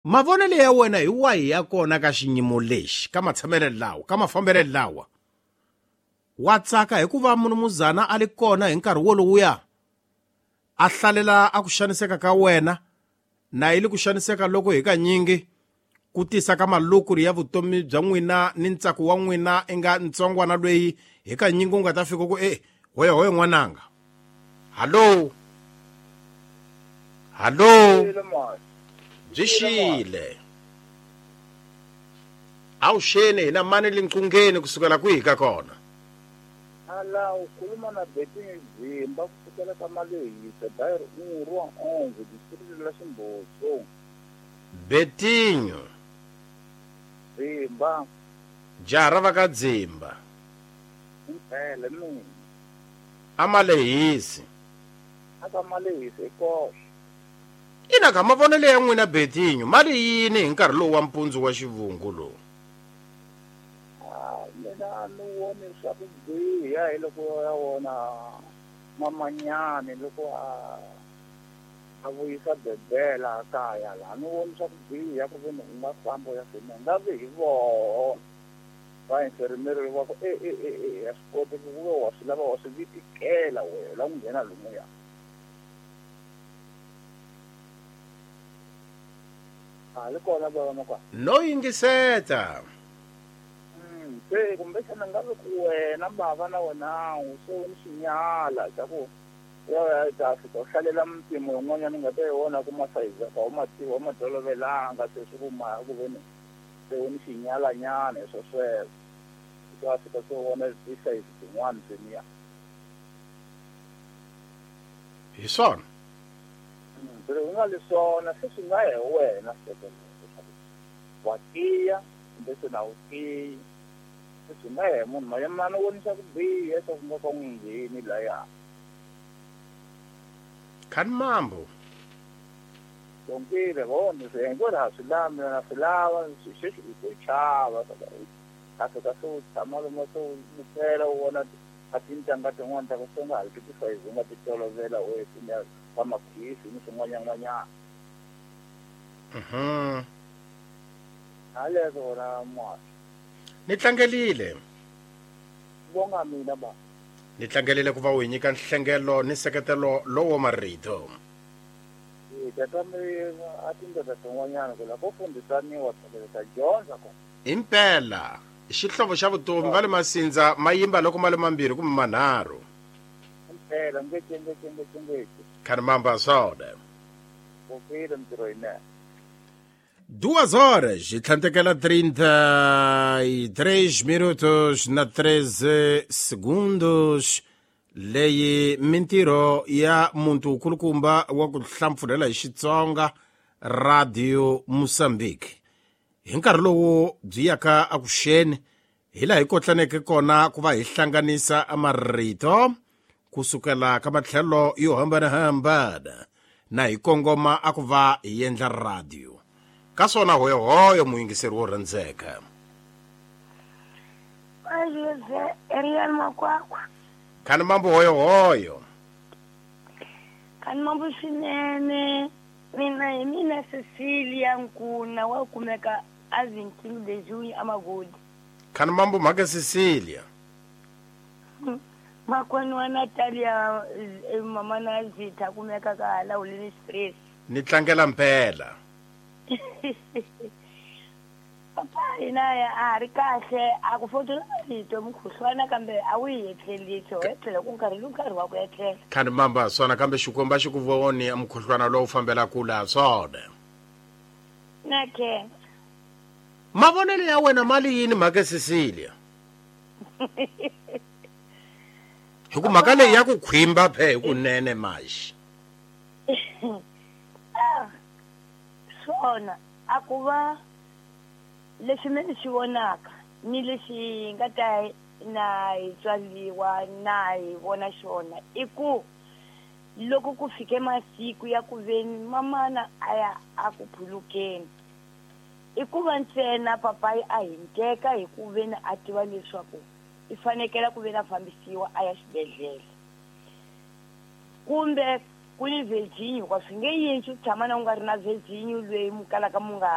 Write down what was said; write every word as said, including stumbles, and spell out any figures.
Mavonelo ya wena hi wahi ya kona ka xiyimo lexi, ka matshamelo lawa, ka mafambelo lawa? Wa tsaka hikuva munumuzana a li kona hi nkarhi wolowuya a hlalela a ku xaniseka ka wena, na yi li ku xaniseka loko hi kanyingi ku tisa ka malukuri ya vutomi bya n'wina ni ntsako wa n'wina i nga ntsongwana lweyi hi kanyingi u nga ta fika ku e hoya hoya n'wananga. Hallo, hallo, byi xile awuxeni hina mani linqungeni kusukela kwihi ka kona? Ala u khuluma na Betinho Dzimba kusukela ka Malehisa Bairro um Rua onze distrito la Ximboso. Betinho Dzimba, jaha ra va ka Dzimba. Impela mina a Malehisi aka Malehisa ekoxe. Ina ka mavonelo ya n'wina Betinho mali yini hi nkarhi lowu wa mpundzu wa xivungu lowu? Ah, mina ni voni swa ku biha hi loko ya wona mamanyani loko a a vuyisa bebela kaya laha, ni voni swa ku biha ku ve ni u nga famba u ya fema nga vi hi voho va infermieri va ku e e e e a swi koteki ku ve wa swi lava wa swi vitikela wena la ku nghena lomuya. A li kona bava makwa no yingiseta. Mm, se kumbexana nga vi ku wena bava na wena se u ni xinyala xa ku ya ya ta fika u hlalela mpimo yin'wanyana u nga ta yi vona ku masayizi ka u ma tiva u ma tolovelanga se swi ku ma ku ve ni se u ni xinyalanyana hi swo sweswo u ta fika se u vona tisayizi tin'wana sweniya. Hi swona se u nga li swona se swi nga ya hi wena leswaku wa tiya kumbe se na wu tiyi, se swi nga ya hi munhu mayemana vonisa ku biha swa ku nga ka n'wi ngheni laya. Khani mambo Donkile vona se hinkwerhu ha swi lava mina na swi lava sweswi i ku chava a fika se u tshama lomu se u bukela u vona a tintangha tin'wana ta ku se u nga ha ti tisayizi u nga ti tolovela u etinya va makhisi ni swin'wanyan'wanyana. Mhm. Haleswo wona mwana. Ni tlangelile. Vonga mina ba. Ni tlangelile ku va u hi nyika nhlengelo ni nseketelo lowo marito. E tata mi a tindlela tin'wanyana ku la ko fundisaniwa tlhelo ta dyondza ko. Impela xihlovo xa vutomi va le Masindza ma yimba loko ma le mambirhi kumbe manharhu. Impela ngece ngece ngece ngece. Khani mamba swona. Vukile mintirho yinene. Duas horas e tlhantekela trinta e três minutos na treze segundos. Leyi mintirho ya muntu wukulukumba wa ku hlampfurhela hi Xitsonga Radio Mozambique. Hi nkarhi lowu byi yaka akuxeni hi laha hi kotlaneke kona ku va hi hlanganisa marito kusukela ka matlhelo yo hambanahambana na hi kongoma a ku va hi endla radio. Ka swona hoyohoyo muyingiseri wo rhandzeka. Ayize Ariel Makwakwa. Khani mambo hoyohoyo. Khani mambo swinene. Mina hi mina Cecilia Nkuna wa kumeka a vinte e um de junho a Magodi. Khani mambo mhaka Cecilia. Makwenu wa Natalia mama na Zita kumeka ka hala Holini Express. Ni tlangela mpela. Papa hina a ri kahle a ku fotela rito mukhuhlwana kambe a wu yi etlelisi ho etlela ku nkarhi lu nkarhi wa ku etlela. Khani mamba swona kambe xikwembu a xi ku voni mukhuhlwana lowu fambela kula swona. Na ke. Mavonelo ya wena mali yini mhaka Cecilia? Hi ku mhaka leyi ya ku khwimba phe hi kunene maxi. Ah, swona a ku va lexi me ni xi vonaka ni lexi nga ta na hi tswaliwa na hi vona xona i ku loko ku fike masiku ya ku veni mamana a ya a ku phulukeni i ku va ntsena papayi a hinteka hi ku veni a tiva leswaku i fanekela ku veni a fambisiwa a ya xibedhlele kumbe ku ni Virginia hikuva swi nge yintshi ku tshama na u nga ri na Virginia loyi mu kalaka mu nga